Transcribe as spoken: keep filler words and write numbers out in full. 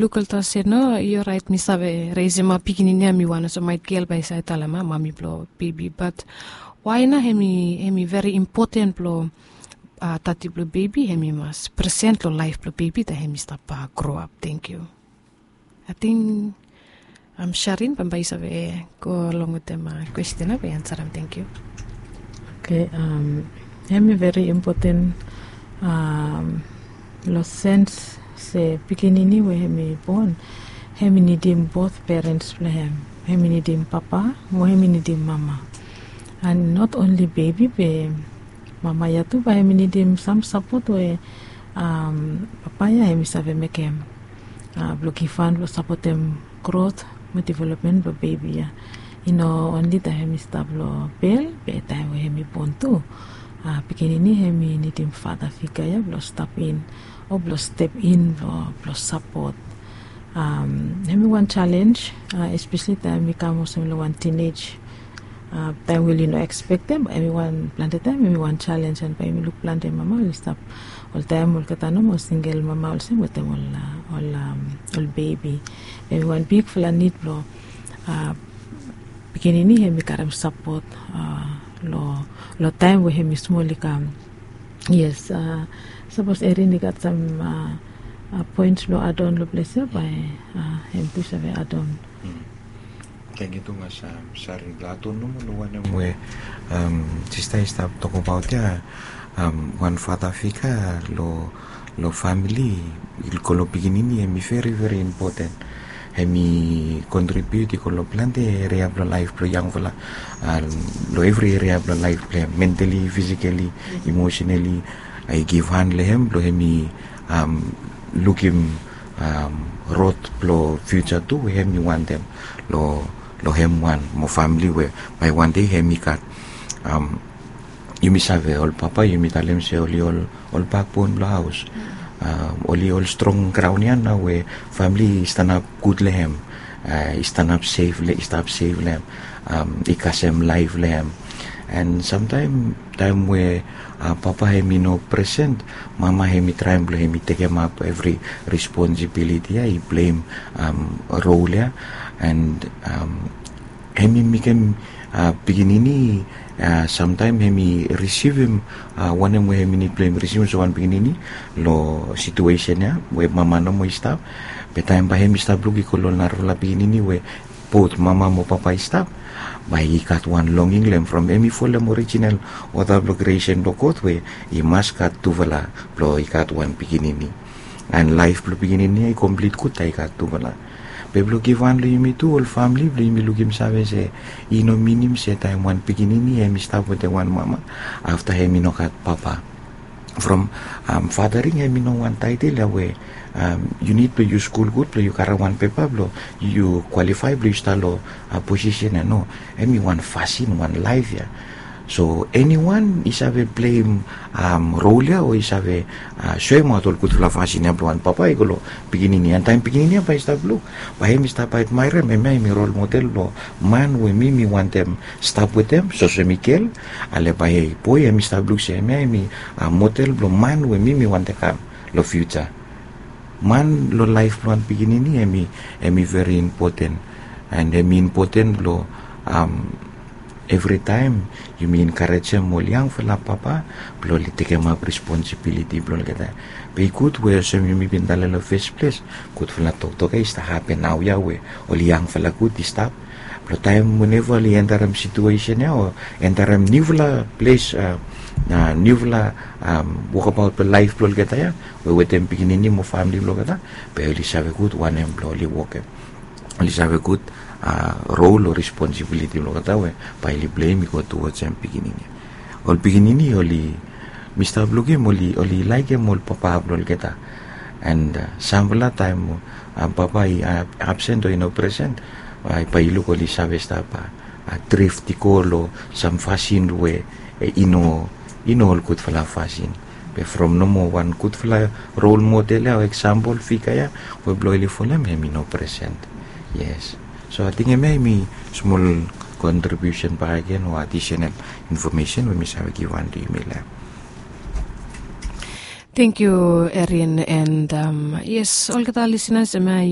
Luk ol tok se no, yu orait mi save resimap pikinini ya mi wan olsem maet gel bae i save talem a mami blong bebi, bat wae nao hem i hem i veri impoten blong a tati blong bebi hem i mas presen long laef blong bebi taem hem i stap a gro ap. Tengkiu. Ating am sharin bambae i save go long wetem a kwesten ya bae i ansarem. Tengkiu. Oke. Hem i veri impoten long sens se pikinini we hem i bon, hem i nidim bot perens blong hem. Hem i nidim papa mo hem i nidim mama. And not onli bebi be mama ya tu bae hem i nidim sam sapot we papa ya hem i save mekem blong givhan blong sapotem grot mo developmen blong bebi ya. I no onli taem hem i stap long bel be taem we hem i bon tu, pikinini hem i nidim fata figa ya blong stap in o blong step in blong sapot. Hem i wan jalenj, espesli taem i kam olsem long wan tinej taem we oli no ekspektem, bae hem i wan plante taem hem i wan jalenj and bae yumi luk plante mama oli stap oltaem olgeta nomo singel mama olsem wetem ol bebi. Hem i wan bigfala nid blong pikinini hem i karem sapot long taem we hem i smol i kam. Yes. Sapos Erin i gat sam poens blong adon long ples ya bae hem tu save adon. Tengkiu tumas. Sarin blong adon nomo long wanem we sista i stap tokbaot ya. Wan fata figa long famili i go long pikinini hem i veri veri impoten. Hem i kontribiut i go long plante eria blong laef blong yangfala, long evri eria blong laef blong hem, mentali, fisikali, imosenali. I givhan long hem blong hem i lukim rod blong fiuja tu we hem i wantem long hem wan mo famili we bae wan dei hem i gat. Yumi save ol papa yumi talem se oli ol bakbon blong haos. Oli ol strong graon ya nao we famili i stanap gud long hem, i stanap sef long hem, i kasem laef long hem. And samtaem taem we papa hem i no presen, mama hem i traem blong hem i tekemap evri responsibiliti ya, i pleim rol ya. And hem i mekem pikinini samtaem hem i risivim wanem we hem i nid blong hem i risivim olsem wan pikinini long situesen ya we mama nomo i stap. Be taem bae hem i stap luk i go long narafala pikinini we bot mama mo papa i stap, bae i gat wan longing long hem from hem i folem orijinal oda blong kriesen blong God we i mas gat tufala blong i gat wan pikinini. And laef blong pikinini ya i komplit gud taem i gat tufala. Be blong givhan long yumi tu ol famili blong yumi lukim save se i no minim se taem wan pikinini hem i stap wetem wan mama afta hem i no gat papa. From fadaring hem i no wan taetel ya we yu nid blong yu skul gud blong yu karem wan pepa blong yu kwalifae blong yu stap long posisen ya. No, hem i wan fasin, wan laef ya. So eniwan i save pleim rol ya o i save soemaot ol gudfala fasin ya blong wan papa i go long pikinini, and taem pikinini ya bae i stap luk, bae hem i stap admaerem, hemia hem i rol model blong man we mi mi wantem stap wetem, so olsem mi gel. Ale bae boe hem i stap luk se hemia hem i model blong man we mi mi wantem kam long fiuja. Man long laef blong wan pikinini hem i veri impoten. And hem i impoten blong evritaem yumi enkarejem ol yangfala papa blong oli tekemap responsibiliti blong olgeta. Be i gud we olsem yumi bin talem long fes ples, gudfala toktok ya i stap hapen naoia we ol yangfala gud i stap blong taem weneva oli entarem situesen ya o entarem niufala ples, niufala wokabaot blong laef blong olgeta ya we wetem pikinini mo famili blong olgeta, be oli save gud wanem blong oli wokem. Oli save gud rol o responsibiliti blong olgeta we bae oli pleim i go tuwoj hem pikinini. Ol pikinini oli, mi stap lukim oli laekem ol papa blong olgeta. And samfala taem papa i absen o i no presen, bae i luk oli save stap drift i go long sam fasin we i no, i no ol gudfala fasin. Be from nomo wan gudfala rol model ya o eksampol figa ya we blong oli folem hem i no presen. Yes. So ating hemia hem i smol kontribiusen bakegen o adisenal infomesen we mi save givhan long yumi long hem. Tengkiu, Erin, and yes, olgeta lisenas em ya yu